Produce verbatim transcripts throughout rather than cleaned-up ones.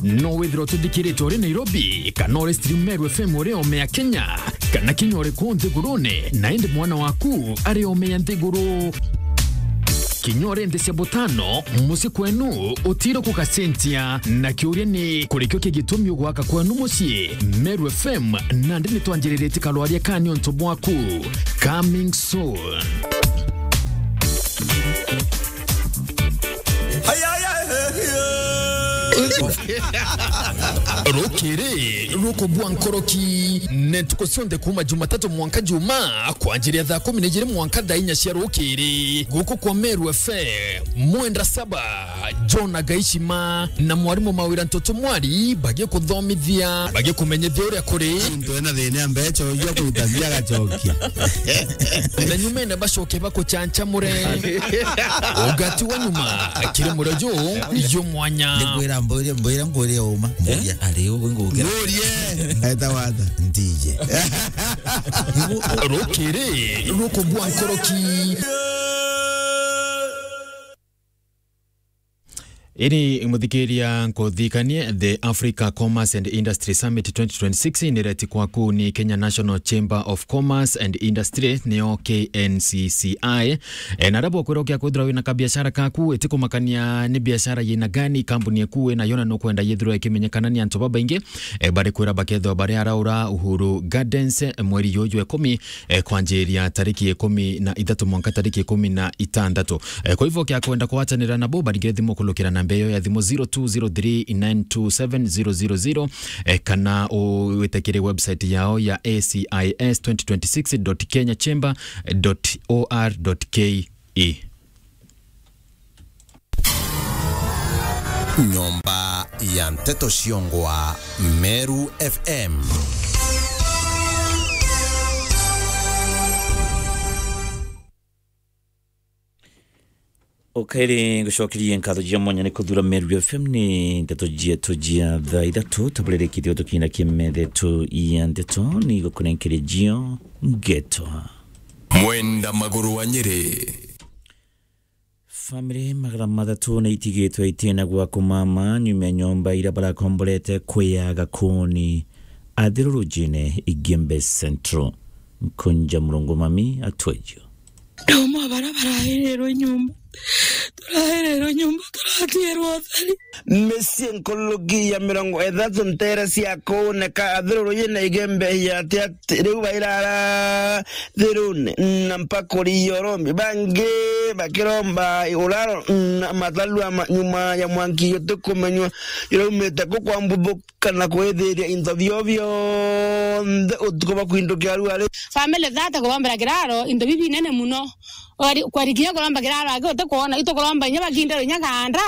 No withirwa ututhikiritwe uri Nairobi, kana uri stream Meru F M uri ome ya Kenya, kana kinya uri kuu nthigurune, na indi mwana waku ari ome ya nthiguru. Kinya uri nthi cia butano, mucii kwenu utiro kugacenjia. Na kiuria ni, kurikio ki gitumi ugwaka kwenu mucii? Meru F M, nandi nitwanjiriritie karwaria ka ni untu bwaku. Coming soon. Rukiri rukubua nkoroki, ni ntuku cionthe kuuma Jumatatu mwanka Jumaa, kwanjiria thaa kumi na ijiri mwanka thaa inya cia rukiri, guku kwa Meru F M. Mwenda Saba, John Agaishima na mwarimu Mawira Ntoto Mwari bagikuthomithia, bagikumenyithia uria kuri. Muntu ena thina ya mbeca uyu akutagia agacokia. Na nyumene bacoke bakuchanchamure. Ugati wa nyuma, kiri murio ju, ju mwanya. Ndikwira mbwire, mbwira ngwire uma. Mburia, ari u ngukira. Nurie. Eta wata, ndije. Rukiri rukubua nkoroki. Ini muthikiria, nkuthikanie, the Africa Commerce and Industry Summit twenty twenty-six ni reti kwaku ni Kenya National Chamber of Commerce and Industry, niyo K N C C I. E, na aria bwakwira ukia kwithirwa wina kabiashara kaku, itikumakania ni biashara yina gani, kambuni eku wina yo na nukwenda yithirwa ikimenyekana ni antu babaingi, e, bari kwira bakethirwa bari araura Uhuru Gardens, e, mweri juju ikumi, e, kwanjiria tariki ikumi na ithatu mwanka tariki ikumi na itandatu. E, kwa hivyo, kia kwenda kugwatanira nabo, barigire thimu kulukira namba iyo ya thimu zero two zero three nine two seven zero zero zero, e, kana uwite kiri website yao ya A C I S twenty twenty-six dot kenya chamber dot O R dot K E. Nyomba ya Nteto Ciongwa, Meru F M. Ukairi ngucokerie nkatho cia mwanya ni kuthura Meru F M. Ni nteto cietu cia thaa ithatu, taburirikitie tukinya kimethe tu ya nteto, ni gukunenkeria cio ngeto. Mwenda Maguru wa Nyeri. Family magana mathatu ni itigitwe itina gwa kumama nyuma ya nyomba iria barakomborete kwiyaga kuni athirurujine Igembe Central. Nkunja Murungu Mami atwejo. Nauma bara barahirirwe nyomba, turahirirwe nyomba, turatigirwe utheri. Micii nkuruki ya mirongo ithatu ntere cia kuuneka athirurujine Igembe ya ati ati riu bairara thirune na mpakuri ya urombi, bangi bakiromba uraro na matarua ma-, nyuma ya mwanki utikumenywa uraumite ku kwa mbuthuka na kwithiria into bio bionthe utuku bwa kwindukia ruari. Family thirty kurombera kiraro, into bibi binene muno. Kwari, kwari kinya kuromba kiraro aki utikwona, itukuromba inya bakindere inya ganda,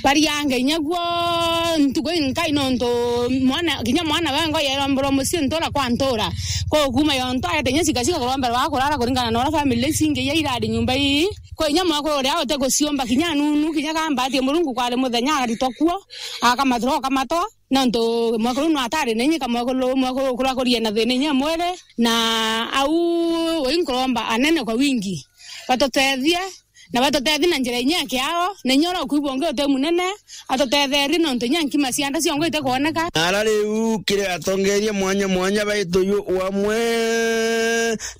bariange inya guo ntuku inkai nontu mwana, kinya mwana wengwa yeromberwa mucii ntura kwa ntura. Kwa ukuma yontu aete inya cika cika kuromberwa akurara kuringana na uria family ici ingi iria irari nyomba ii. Kwa inya mwekuru uria utiguciumba kinya nunu, kinya gambati Murungu kwari muthenya aritwa kuo, akamathura, akamatwa. Nontu mwekuru nu atari na inya, ka mwekuru, mwekuru ukurakurie na thina inya mwiri, na au ui nkuromba anene kwa wingi batutethie, na batutethie na njira inya ya kiao, na inya uria ukwigua ungi uti munene, atutetherie nontu inya nkima cia nda ciongo itikwoneka. Na ara riu kiri atongeria mwanya mwanya baitu yu wamwe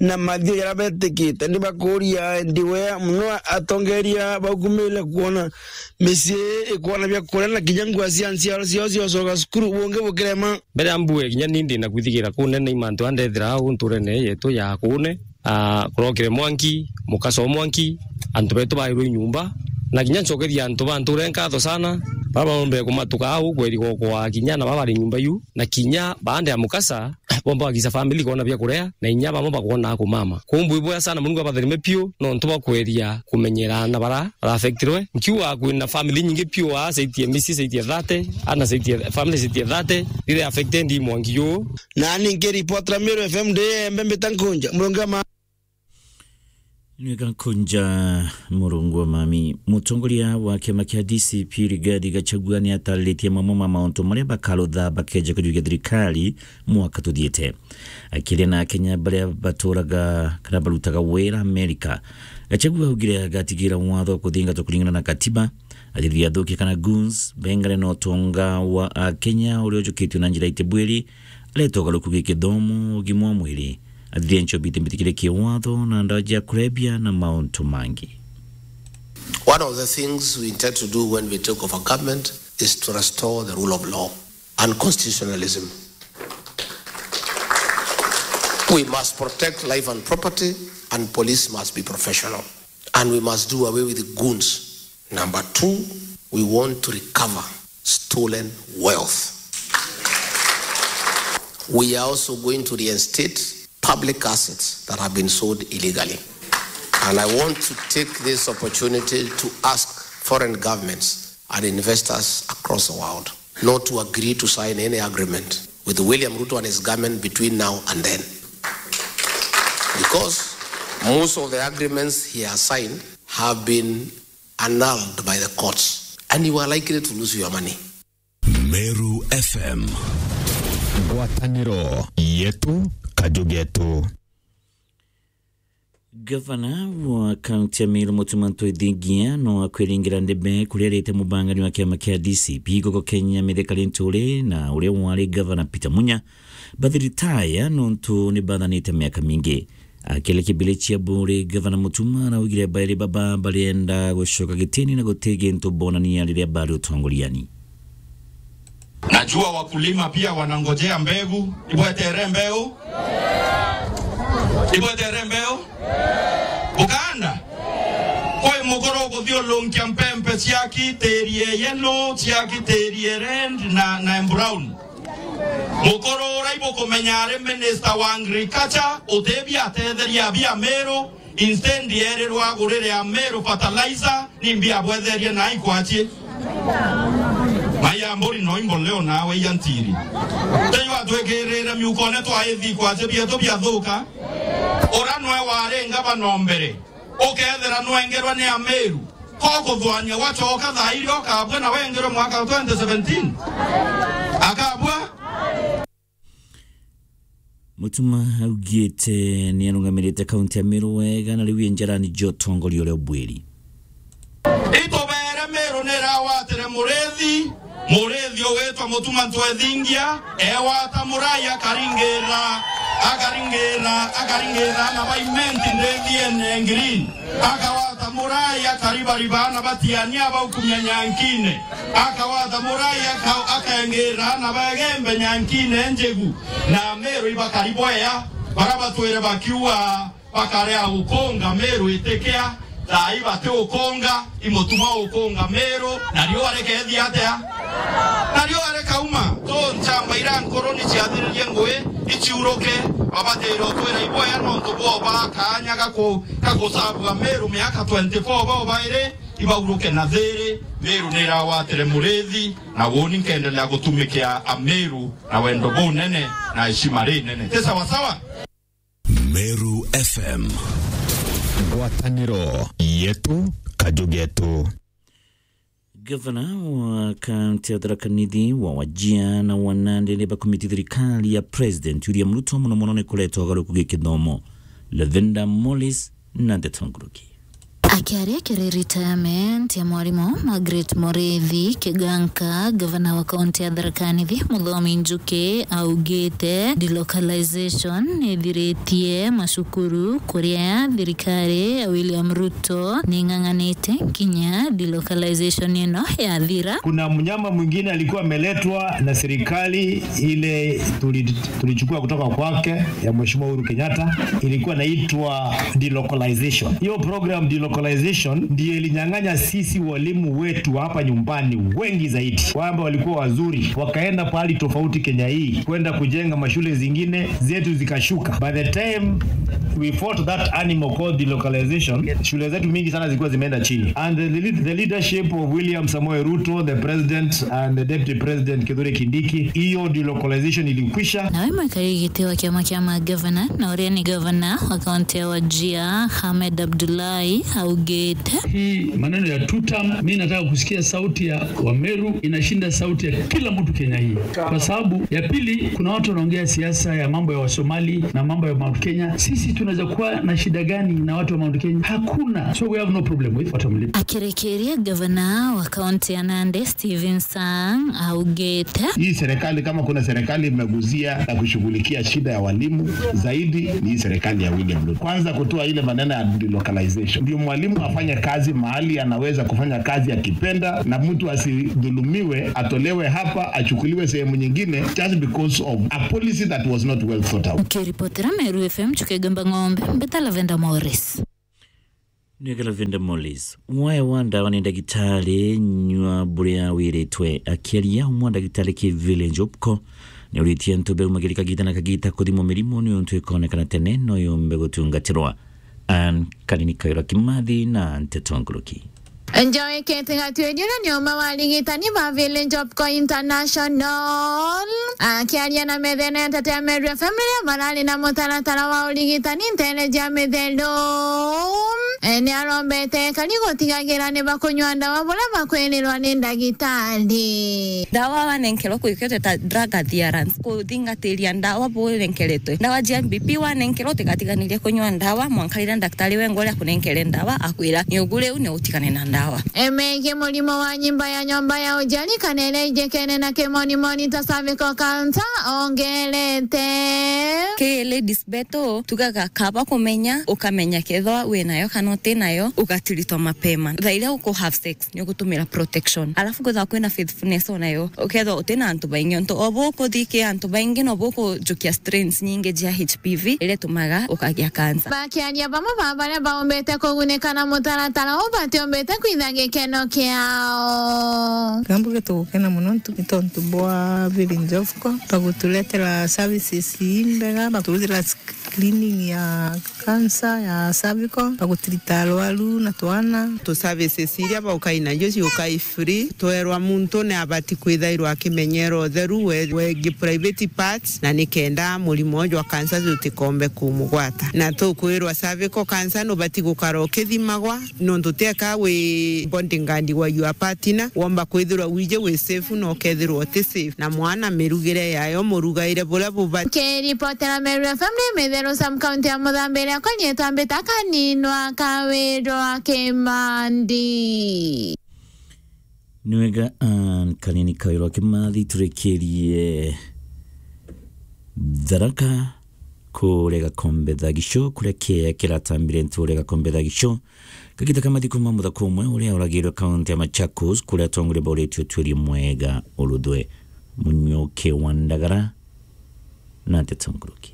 na mathio jaria betikite, ni bakuria ndiwe muno atongeria baukumire kwona micii ikwona bia kuria na kinya ngua cia nchiaro ciao cia ucoka cukuru bungi bukirema. Mbere ya mbue kinya ni ndi na kwithigira kunene i mantu andethira au nturene yetu ya kune, a, kurokire mwanki, mukasa o mwanki, antu betu bairwe nyomba, na kinya ncokeria antu ba nture nkatho sana, baba barombere kumatuka au kweri gokwa kinya na baba bari nyomba yu, na kinya baande ya mukasa, bomba bagisa family kona bia kuria, na inya bamwe bakona kumama. Kumbu iboya sana Murungu abatherime piu, nontu bwa kweria kumenyera na bara, bara affectirwe. Nkiuga kwina family nyingi piu, a, saitie misi, saitie thirty, ana saitie, family saitie thirty, rire affected ndi mwangi yu. Nani nkiripotera Meru F M ndi Embe mbita Nkunja, Murungu ama- Ni Gakunja Murungu wa Mami. Mutongoria wa kiama kia D C P Rigathi Gachagua ni atariritie mamwe ma mauntu maria bakarutha bakeja kujukia thirikari mwaka tuthiite. Akiaria na Akenya baria baturaga kana barutaga wira Amerika, Gachagua augire agatigira watho kuthingatwa kuringana na katiba, Athithia athuki kana goons bengane na utonga wa Akenya uria ujukitue na njira itibwiri, areta ugaruku gi kithomo, ugima wa mwiri, athithia nchobi itibitikirie kiwatho na ndawa cia kurebia na mauntu mangi. One of the things we intend to do when we take over government is to restore the rule of law and constitutionalism. We must protect life and property, and police must be professional. And we must do away with the goons. Number two, we want to recover stolen wealth. We are also going to reinstate public assets that have been sold illegally. And I want to take this opportunity to ask foreign governments and investors across the world not to agree to sign any agreement with William Ruto and his government between now and then. Because most of the agreements he has signed have been annulled by the courts, and you are likely to lose your money. Meru F M. Ngwataniro yetu, kaju getu. Gavana wa kaunti ya Meru, Mutuma M'Ethingia, no akwiringira ndebe kuria arite mubangani wa kiama kia D C P guku Kenya, Mithika Linturi, na uria wari gavana Peter Munya bathi ritaya nontu ni bathanite miaka mingi. Akiaria kibili cia Buri, Gavana Mutuma araugire bairi baba barienda gucoka gitini na guti gintu bonania riria bari utongoriani. Najua wakulima pia wanangojea mbegu. Ibwetere mbeu? Ibwetere mbeu? Bukanda? Kwi mukuru guthiurunkia mpempe ciaki tiri e yellow, ciaki tiri e red na, na brown. Mukuru uria ibukumenya ari minister wa agriculture, utibia atetheria abia Meru, instead erirwa agurire Ameru fertilizer, nimbi abwetherie na ikwacie. Mai ya mburi no imboleo nawe ya ntiri. Teyo atwikirire miukone twa ithi ikwacie bietu biathuka. Ura nwe wari ngavana o mbere. Ukethira nwengerwa ni Ameru. Ko kuthwania wacoka thaa iria ukabua na wengerwe mwaka wa twenty seventeen. Akabua. Mutuma augite ni arungamirite kaunti ya Meru wega na riu e njarani cia utongoria uria ubwiri. Itubere Meru ni irawatire murithi, murithi ugwitwa Mutuma M'Ethingia, ewata murai akaringira, akaringira, akaringira na baimenti ndithiene green. Akawata murai akaribariba na batiania baukumia nyankine. Akawata murai aka-, akengira na bagembe nyankine njigu. Na Meru ibakari bwea, bara batwire bakiuga bakarea gukunga Meru itikia, thai bati ukunga, imutuma ukunga Meru, na riua rikeethia atia? Na riua rikauma. To nchamba iria nkuru ni ciathiririe ngui, iciuruke, babatire utwira ibwea nontu bwoba kaanya gaku-, gagusabua Meru miaka twenty-four bao bairi, ibauruke na thiri. Meru ni irawatire murithi, na uuni nkendelea gutumikia Ameru na wendo bunene na heshima rinene. Ti sawa sawa? Meru F M. Ngwataniro yetu, kaju getu. Gavana wa kaunti ya Tharaka Nithi wa Wajir na wa Nandi ni bakumiti thirikari ya President William Ruto mono mono ni kureta ugaruku gi kithomo. Lavender Morris na ndeto nguruki. Akiaria kiri retirement ya mwarimu Margaret Muriithi Kiganka, gavana wa kaunti ya Tharaka Nithi Muthomi Njuki augite delocalization nithiritie macukuru, kuria thirikari ya William Ruto ning'ang'anite kinya delocalization ino yathira. Kuna mnyama mwingine alikuwa ameletwa na serikali ile tuli-, tulichukua kutoka kwake ya Mheshimiwa Uhuru Kenyatta, ilikuwa inaitwa delocalization. Hiyo program delocalization ndio ilinyang'anya sisi walimu wetu hapa nyumbani wengi zaidi, kwamba walikuwa wazuri, wakaenda pahali tofauti Kenya hii, kwenda kujenga mashule zingine, zetu zikashuka. By the time we fought that animal called delocalization, shule zetu mingi sana zilikuwa zimeenda chini. And the lead-, the leadership of William Samoei Ruto, the president, and the deputy president Kithure Kindiki, hiyo delocalization ilikwisha. Nawe mwikari giti wa kiama kia magavana na uria ni gavana wa kaunti ya Wajir, Ahmed Abdullahi, Ugite. Hii maneno ya two term, mimi nataka kusikia sauti ya Wameru inashinda sauti ya kila mtu Kenya hii. Kwa sababu ya pili, kuna watu wanaongea siasa ya mambo ya Wasomali na mambo ya Mount Kenya. Sisi tunaweza kuwa na shida gani na watu wa Mount Kenya? Hakuna. So we have no problem with watu wa Mlima. Akirikiria, gavana wa kaunti ya Nandi, Stephen Sang, augite. Hii serikali, kama kuna serikali imeguzia na kushughulikia shida ya walimu zaidi, ni hii serikali ya William Ruto. Kwanza kutoa ile maneno ya delocalization. Ndio mwalimu afanye kazi mahali anaweza kufanya kazi akipenda, na mtu asidhulumiwe, atolewe hapa, achukuliwe sehemu nyingine just because of a policy that was not well thought out. Nkiripotera Meru F M, Chuka Igamba Ng'ombe, mbita Lavenda Morris. Nigala Venda Molis. Wae wa ndawa ni ndagitari, nyua buria wiritwe. Akiaria umwe ndagitari ki Village Opco, ni uritie antu beumagiri kagita na kagita kuthimwo mirimu ni untu ikonekana tene no yumbe gutungatirwa. An Kanini Kairo Kimathi na Nteto Nkuruki. Njoe Kete Gatuerio ni umwe wa arigitani ba Village Opco International. Akiaria na methene ya Nteto ya Meru F M riria marari na mutaratara wa urigitani ntere ja mithero, e, ni arombete ekari gutigagira ni bakunyua ndawa buria bakwirirwa ni ndagitari. Ndawa wanenkerwa kwikete ta drug adherence, kuthingatiria ndawa bunenkeretwe. Ndawa cia M B P wanenkerwa utigatiganirie kunyua ndawa mwanka riria ndaktari wengwa uria akunenkere ndawa akwira ni ugu riu ni utigane na ndawa. Emegi murimo wa nyimba ya nyomba ya uciari kana iria ijikene na kimonimoni ta cervical cancer ongerete. Ki ladies betu tugaga kaba kumenya, ukamenya kethwa wi nayo kana uti nayo, ugatiritwa mapema. Thaa iria uku have sex, ni ugutumira protection. Alafu kwithwa kwina faithfulness onayo, ukethwa uti na antu baingi, ontu o bukuthi ki antu baingi no bukujukia strains nyingi cia H P V iria itumaga ukagia cancer. Bakiaria bamwe ba baria baumbite kugunika na mutaratara uu batiumbite kwitha gikeno kiao. Kambuge tugukena muno ntu-, ni tontu bwa Village Opco, baguturetera services imbega, bakuruthira screening ya cancer ya cervical, bagutirita arwaru na twana. Tu services iria baukai nacio ciukai free. Twerwa muntu ni abati kwithairwa akimenyera utheru we, wegie private parts, na nikenda murimo jwa cancer jutikombe kumugwata. Na tukwirwa cervical cancer nubati gukara ukithimagwa, nontu teka wi bodyguard wa your partner, womba kwithirwa wije wi safe na ukethirwa uti safe, na mwana mirugire yayo, murugaire buria bubati. Kiripotera Meru F M ni Mitheru Sub County ya Muthambi iria kwanyitwa mbita Kaninwa Kawirwa Kimandi. Ni wega, Ann Kanini Kawirwa Kimathi, turikirie Tharaka kuria Gakombe Thagicho, kuria kiea kiratambire ntu uria Gakombe Thagicho. Kagita ka mathiku ma muthaka umwe uria uragirwe kaunti ya Machakos, kuria atongoria bauritio utuiri mwega uruthwe. Munyuki wa Ndagara na Nteto Nkuruki.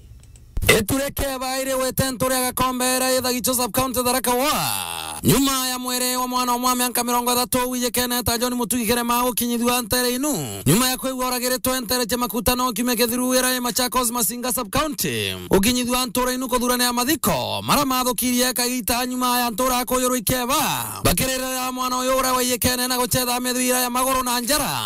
Iture keba iri gwite ntu ria Gakombe iria i Thagicho sub county Tharaka Ward. Nyuma ya mwiri wa mwana umwe wa mianka mirongo ithatu wijikene ta John Mutugi Kirema gukinyithua ntere inu, nyuma ya kwigua uragiritwe ntere cia Makutano kiumia kithiru iria i Machakos Masinga sub county, gukinyithua ntura inu kuthuranira mathiko maria mathukirie kagita nyuma ya ntura kuyurwa ikeba, bakiririra mwana uyu uria waiyikene na gucetha mithwira ya maguru na njara.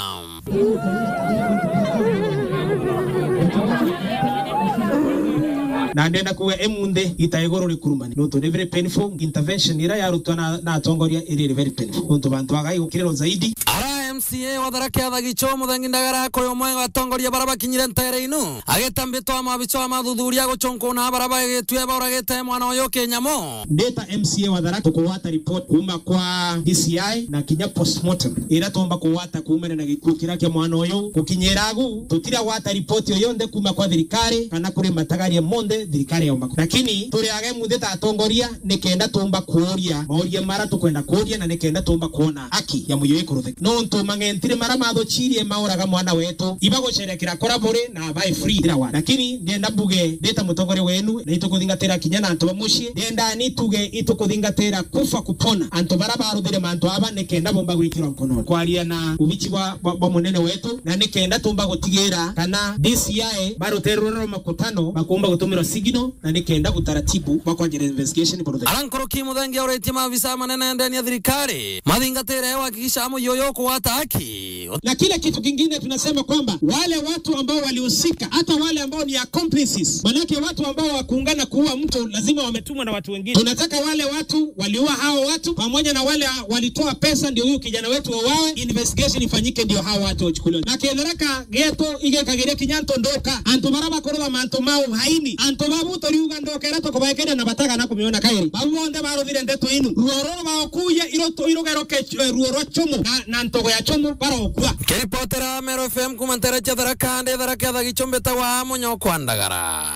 Na ndenda kuuga emunthi ita iguru rikurumani. Nontu ni very painful. Intervention ira yarutwa na, na atongoria iri very painful. Nontu bantu bagai gukirirwa zaidi. Ara M C A wa Tharaka ya Thagicho Muthengi Ndagara kuri umwe wa atongoria bara bakinyire ntere inu. Agitambitwa mabicha wa mathuthuria guchunkuna bara bagitue bauragite mwana uyu kinyamu. Ndita M C A wa Tharaka tukugwata report kuma kwa D C I na kinya postmortem ira tumba kugwata kuumania na gikuu kiria kia mwana uyu. Gukinyira agu, tutiragwata ripoti o yonthe kuma kwa thirikari kana kuri matagaria monthe thirikari yaumba ku-, lakini turi aga emunthi ta atongoria nikenda tumba kuuria mauria mara tukwenda kuuria na nikenda tumba kuona haki ya muyo ikuruthika. Nontu mang'entire mara mathuchirie mauraga mwana wetu, ibagucerekera kura buri na abae free ira wa. Lakini ndienda mbuge, ndita mutongoria wenu, na itukuthingatira kinya na antu ba mucii. Ndienda ni tuge itukuthingatira kufa kupona. Antu bara baruthire mantu aba nikenda bomba gwikirwa nkononi. Kwaria na ubichi bwa, bwa, bwa munene wetu, na nikenda tumba gutigira kana D C I baruterwe rwa makutano, bakumba gutumirwa signal, na nikenda gutaratibu bwa kwanjira investigation buruthire. Ara nkuruki Muthengi auritie maabisa manene ndeni ya thirikari mathingatire kuhakikisha muyo uyu ukugwata haki. Mwaniki. Na kile kitu kingine tunasema kwamba wale watu ambao walihusika, hata wale ambao ni accomplices, manake watu ambao wakuungana kuua mtu lazima wametumwa na watu wengine. Tunataka wale watu waliua hao watu pamoja na wale walitoa pesa ndio huyu kijana wetu wauawe, investigation ifanyike ndio hao watu wachukuliwe. Na Tharaka getu igekagiria kinya antu ndoka, antu bara bakorwa mantu ma uhaini, antu babu turiuga ndoka ira tukubaekeria na bataga na kumiona kairi. Bau bonthe baruthire ndeto inu. Ruo ruru baokuya iroto irugeroke, eh, ruo rwa chumu na, na ntogo ya chumu barokua. Nkiripotera Meru F M kuma ntere cia Tharaka, ndi Tharaka etha gichumbi ta wa Munyo kwa Ndagara.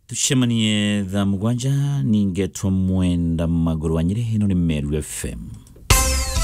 Tucemanie thaa mugwanja, ningetwa Mwenda Maguru wa Nyiri, ino ni Meru F M.